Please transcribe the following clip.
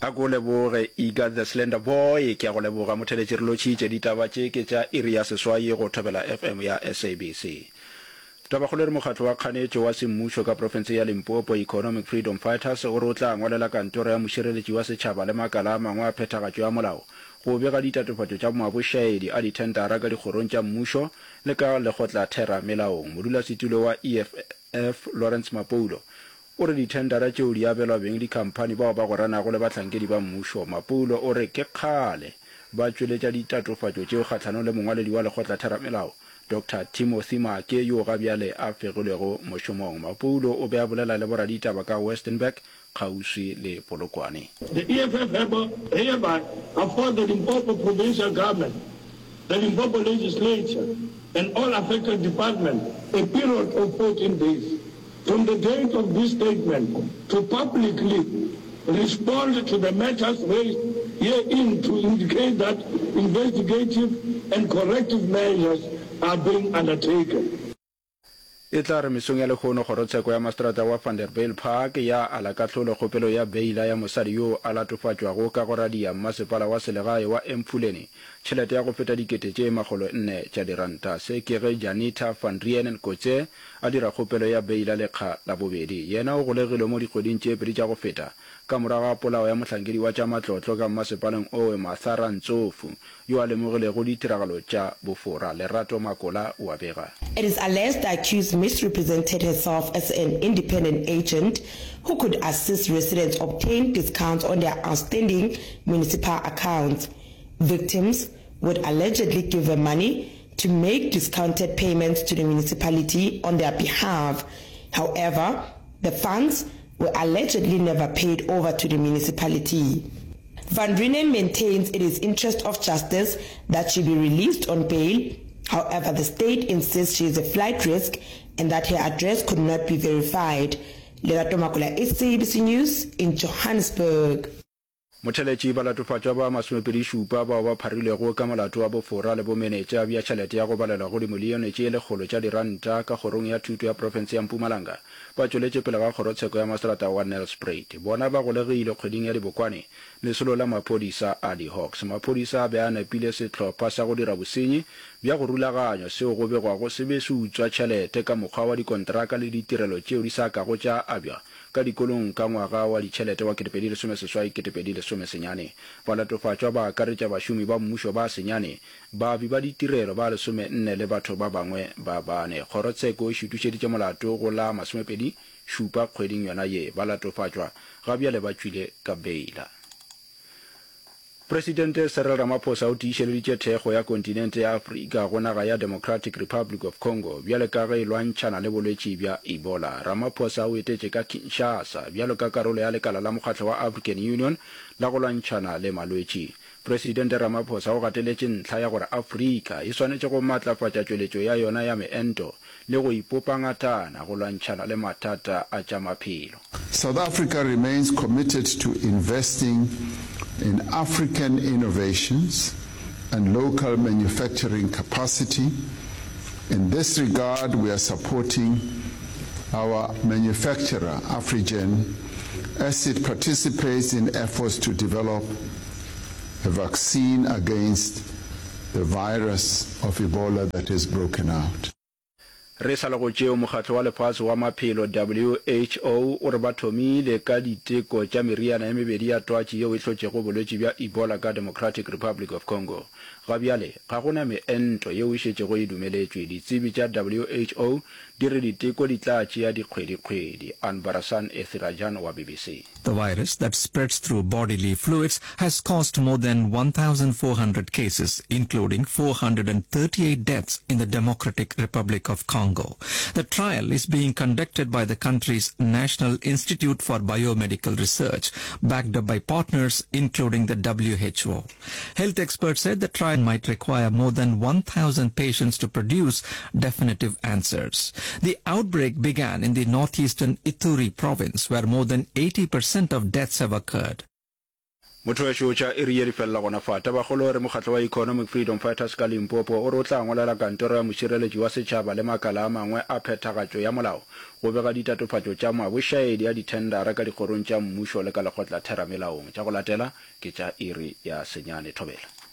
A ko leboge Iga the Slender Boy. Ke a go leboga motheletši re lotšhitše. Ditaba tše ke tša iri ya seswai go Thobela FM ya SABC. Tabakgolo e re mokgatlo wa kganetšo wa semmušo ka profenseng ya Limpopo, Economic Freedom Fighters, o re o tla ngwalela kantoro ya mošireletši wa setšhaba le makala a mangwe a phethagatšo ya molao go bega ditatofatšo tša mabošaedi a dithendara ka dikgorong tša mmušo le ka lekgotlathera melaong. Modulasetulo wa EFF Lawrence Mapoulo O re dithendara tšeo di abelwa beng dikhamphani bao ba gweranago le bahlankedi ba mmušo. Mapoulo o re ke kgale ba tšweletša ditatofatšo tšeo kgahlanong le mongwaledi wa lekgotlatheramelao, Doctor Timothy Maake yo ga bjale a fegilwego mošomong. Mapoulo o be a bolela le boraditaba ka Westenburg kgauswi le Polokwane. The EFF hereby affords the Limpopo Provincial Government, the Limpopo Legislature and all affected departments a period of 14 days from the date of this statement to publicly respond to the matters raised herein to indicate that investigative and corrective measures are being undertaken. E tla re mesong ya lehono kgorotsheko ya maseterata wa Vanderbijlpark ya ala kahlolo kgopelo ya beila ya mosadi yoo a latofatšwago ka go radia mmasepala wa selegae wa Emfuleni tšhelete ya go feta dikete tše makgolonne tša diranta. Se ke ge Janita van Reenen Kotze a dira kgopelo ya beila lekga la bobedi. Yena o golegilwe mo dikgweding tše pedi tša go feta ka morago ga polao ya mohlankedi wa tša matlotlo ka mmasepaleng owe Martha Rantsofu yo a lemogilego ditiragalo tša bofora. Lerato Makola o a bega. It is alleged the accused misrepresented herself as an independent agent who could assist residents obtain discounts on their outstanding municipal accounts. Victims would allegedly give her money to make discounted payments to the municipality on their behalf. However, the funds were allegedly never paid over to the municipality. Van Reenen maintains it is interest of justice that she be released on bail. However, the state insists she is a flight risk and that her address could not be verified. Lerato Makola, SABC News in Johannesburg. Motheletši, Balatofatšwa ba masomepedi-šupa bao ba pharilwego ka molato wa bofora le bomenetša bja tšhelete ya go balelwa go dimilione tše lekgolo tša diranta ka kgorong ya thuto ya profense ya Mpumalanga ba tšweletše pele ga kgorotsheko ya maseterata wa Nelspruit. Bona ba golegilwe kgweding ya Dibokwane lesolo la maphodisa a di-Hawks. Maphodisa a be a nepile sehlopha sa go dira bosenyi bja go rulaganywa seo go begwago se be se utswa tšhelete ka mokgwa wa dikonteraka le ditirelo tšeo di sa kago tša abjwa ka dikolong ka ngwaga wa ditšhelete wa 2018-2019. Balatofatšwa ba akaretša bašomi ba mmušo ba senyane, baabi ba ditirelo ba lesomenne le batho ba bangwe ba bane. Kgorotsheko e šutušeditše molato go la masomepedi šupa kgweding yona ye. Balatofatšwa ga bjale ba tšwile ka beila. Presidente Cyril Ramaphosa o tiišeleditše thekgo ya kontinente ya Afrika go naga ya Democratic Republic of Congo bjale ka ge e lwantšhana le bolwetši bja Ebola. Ramaphosa o etetše ka Kinshasa bjalo ka karolo ya lekala la mokgatlo wa African Union la go lwantšhana le malwetši. Presidente Ramaphosa o gateletše ntlha ya gore Afrika e swanetše go matlafatša tšweletšo ya yona ya meento le go ipopa ngatana go lwantšhana le mathata a tša maphelo. South Africa remains committed to investing in African innovations and local manufacturing capacity. In this regard, we are supporting our manufacturer, Afrigen, as it participates in efforts to develop a vaccine against the virus of Ebola that has broken out. Re sa le go tšeo, Mokgatlo wa Lefase wa Maphelo, WHO, o re ba thomile ka diteko tša meriana e mebedi ya twatši yeo e hlotšego bolwetši bja Ebola ka Democratic Republic of Congo. Ga bjale, ga go na meento yeo e šetšego e dumeletšwe. Ditsebi tša WHO di re diteko di tla tšea dikgwedikgwedi. Anbarasan Ethirajan wa BBC. The virus that spreads through bodily fluids has caused more than 1,400 cases, including 438 deaths in the Democratic Republic of Congo. The trial is being conducted by the country's National Institute for Biomedical Research, backed up by partners including the WHO. Health experts said the trial might require more than 1,000 patients to produce definitive answers. The outbreak began in the northeastern Ituri province, where more than 80% of deaths have occurred. Motho wešo, tša iri ye di felela gona fa. Tabakgolo e re mokgatlo wa Economic Freedom Fighters ka Limpopo o re o tla ngwalela kantoro ya mošireletši wa setšhaba le makala a mangwe a phethagatšo ya molao go bega ditatofatšo tša mabošaedi a dithendara ka dikgorong tša mmušo le ka lekgotlatheramelaong. Tša go latela ke tša iri ya senyane. Thobela.